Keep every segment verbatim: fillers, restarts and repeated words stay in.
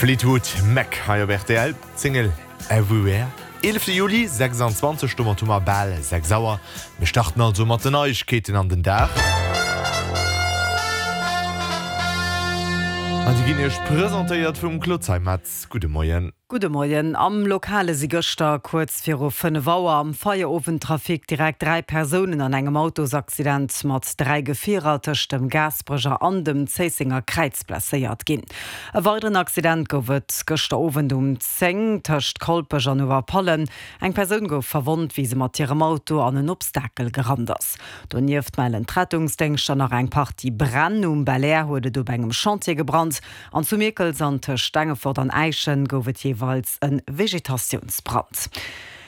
Fleetwood Mac hei op rtl, d'Single Everywhere. Eelefte Juli, sechsanzwanzeg, domat hu mer bal sechs Auer. Mir starten also mat den Neiegkeeten an den Dag. An déi ginn Iech presentéiert vum Claude Zeimetz. Gudde Moien. Gudde Moien. Am Lokale si gëschter kuerz viru fënnef Auer am Feierowendtrafic direkt dräi Persounen an engem Autosaccident mat dräi Gefierer tëscht dem Gaasperecher an dem Zéissenger Kräiz blesséiert ginn. E weideren Accident gouf et gëschter Owend um zéng tëscht Kolpech an Uewerpallen. Eng Persoun gouf verwonnt, wéi se mat hirem Auto an en Obstakel gerannt ass. Donieft mellen d'Rettungsdéngschter nach eng Partie Bränn. Um Belair huet et op engem Chantier gebrannt an zu Mierkels an tëscht Stengefort an Äischen gouf et jeeweils e Vegetatiounsbrand.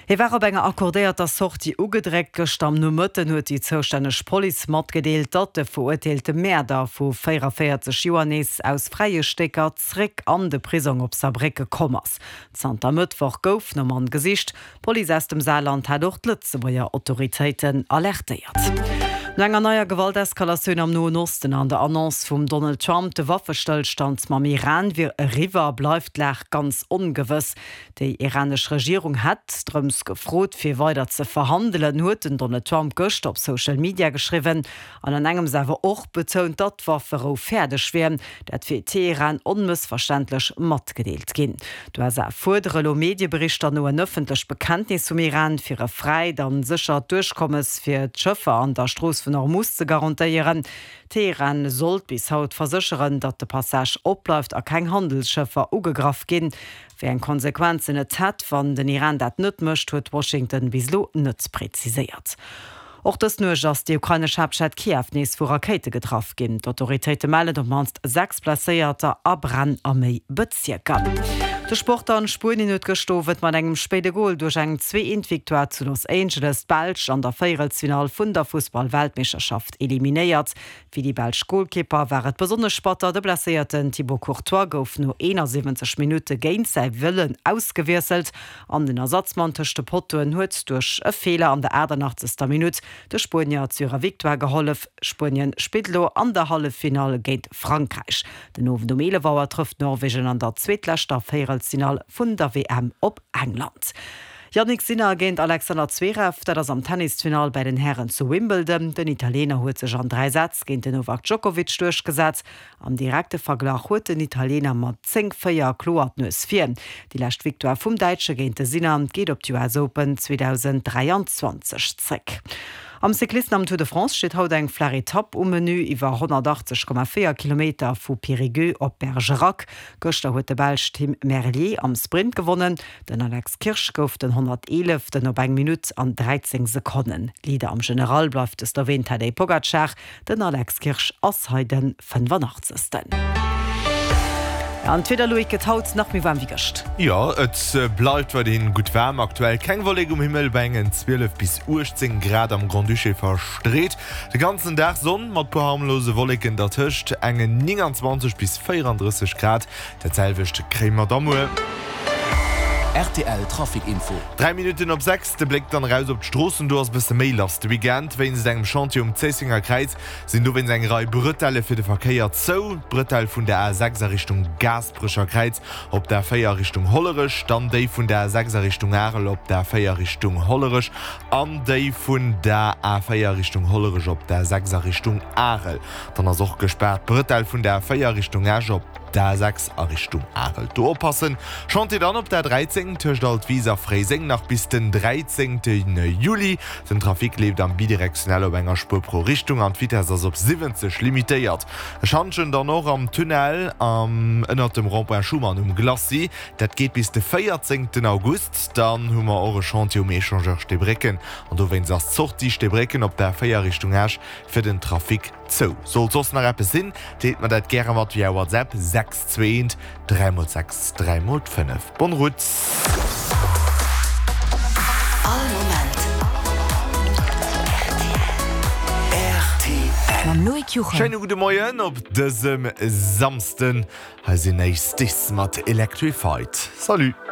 Hie war op enger accordéierter Sortie ugedréckt. Gëschter am Nomëtten huet déi zoustänneg Police matgedeelt, datt de verurteelte Mäerder vu véierundavéierzeg Joer nees aus fräie Stécker zréck an de Prisong op Saarbrécke komm ass. Zanter Mëttwoch gouf nom Mann gesicht. D'Police aus dem Saarland hat och d'Lëtzebuerger Autoritéiten alertéiert. No enger neier Gewalteskalatioun am Noen Osten an der Annonce vum Donald Trump, de Waffestëllstand mam Iran wier eriwwer, bleift d'Lag ganz ongewëss. Déi iranesch Regierung hätt drëms gefrot, fir weider ze verhandelen, huet den Donald Trump gëschter op Social Media geschriwwen an an engems awer och betount, datt d'Wafferou fäerdeg wier. Dat wier Teheran onmëssverständlech matgedeelt ginn. D'USA fuerdere lo Medieberichter no en ëffentlecht Bekenntnis vum Iran, fir e fräit a séchert Duerchkommes fir d'Schëffer an der Strooss vun Hormus ze garantéieren. Teheran sollt bis haut versécheren, datt de Passage opbleift a keng Handelsschëffer ugegraff ginn. Wéi eng Konsequenzen et hätt, wann den Iran dat net mécht, huet Washington bis elo net präziséiert. Och dës Nuecht ass déi ukrainesch Haaptstad Kiew nees vu Rakéite getraff ginn. D'Autoritéite mellen op d'mannst sechs Blesséierter a Bränn a méi Bezierker. De Sport dann, Spuenien huet gëscht Owend mat engem spéide Gol duerch eng Zwee-Eent-Victoire zu Los Angeles d'Belsch an der Véierelsfinall vun der Fussball-Weltmeeschterschaft eliminéiert. Fir déi belsch Golkipper war et besonnesch batter, de blesséierten Thibaut Courtois gouf no eenansiwwenzeg Minutte géint säi Wëllen ausgewiesselt an den Ersatzmann tëscht de Pottoen huet duerch e Feeler an der aachtanachtzeger Minutt de Spuenier zu hirer Victoire gehollef. Spuenien spillt elo an der Halleffinall géint Frankräich. Den Owend um eelef Auer trëfft Norwegen an der zweetleschter Véierelsfinall vun der W M op England. Jannik Sinner géint Alexander Zverev, dat ass am Tennisfinall bei den Hären zu Wimbledon. Den Italiener huet sech an dräi Sätz géint den Novak Djokovic duerchgesat. Am direkte Verglach huet den Italiener mat zéng, véier kloer d'Nues vir. Déi lescht Victoire vum Däitsche géint de Sinner geet op d'U S Open zweedausendräianzwanzeg zréck. Am Cyclisten am Tour de France steet haut eng flaach Etapp um Menü iwwer honnertachtzeg Komma véier Kilometer vu Périgueux op Bergerac. Gëschter huet de Belsch Tim Merlier am Sprint gewonnen. Den Alex Kirsch gouf den honnerteeleften op eng Minutt an dräizéng Sekonnen. Leader am General bleift de Sloween Tadej Pogacar. Den Alex Kirsch ass hei de fënnfanachtzegsten. An d'Wieder, Loïc, gëtt haut nach méi waarm wéi gëscht. Jo, et bleift weiderhin gutt waarm. Aktuell keng Wollek um Himmel, bei engen zwielef bis uechtzéng Grad am Grand-Duché verstreet. De ganzen Dag Sonn mat puer harmlose Wolleken dertëscht, engen nénganzwanzeg bis véierandrësseg Grad. Dat selwecht kréie mer da muer. Rtl Trafic Info. Dräi Minutten op sechs, de Bléck dann eraus op d'Stroossen, do ass e bësse méi lass de Weekend. Wéinst engem Chantier um Zéissenger Kräiz sinn dowéinst eng Rei Bretelle fir de Verkéier zou. D'Bretelle vun der A sechs a Richtung Gaasperecher Kräiz op der A véier a Richtung Hollerech, dann déi vun der A sechs a Richtung Arel op der A véier Richtung Hollerech an déi vun der A véier Richtung Hollerech op der A sechs a Richtung Arel. Dann ass och gespaart d'Bretelle vun der A véier Richtung Esch op der A sechs a Richtung Arel. Do oppassen! Chantier dann op der dräizéng tëscht Altwis a Fréiseng nach bis den dräizéngte Juli. Den Trafic leeft am bidirektionell op enger Spuer pro Richtung an d'Vitess ass op siwwenzeg limitéiert. E Schantjen dann och am Tunnel ënnert dem Rond-point Schuman um Glacis. Dat geet bis de véierzéngten August. Dann hu mer och e Chantier um Echangeur Steebrécken an dowéinst ass d'Sortie Steebrécken op der véier Richtung Esch fir den Trafic zou. Sollt soss nach eppes sinn, deelt mer dat gäre mat via WhatsApp, sechs zwee eent dräi mol sechs dräi mol fënnef. Bonne route! All Moment R T L. Mam Loïc Juchem. Schéine gudde Moien op dësem Samsden. Hei sinn Ace Dis mat Electrified. Salut!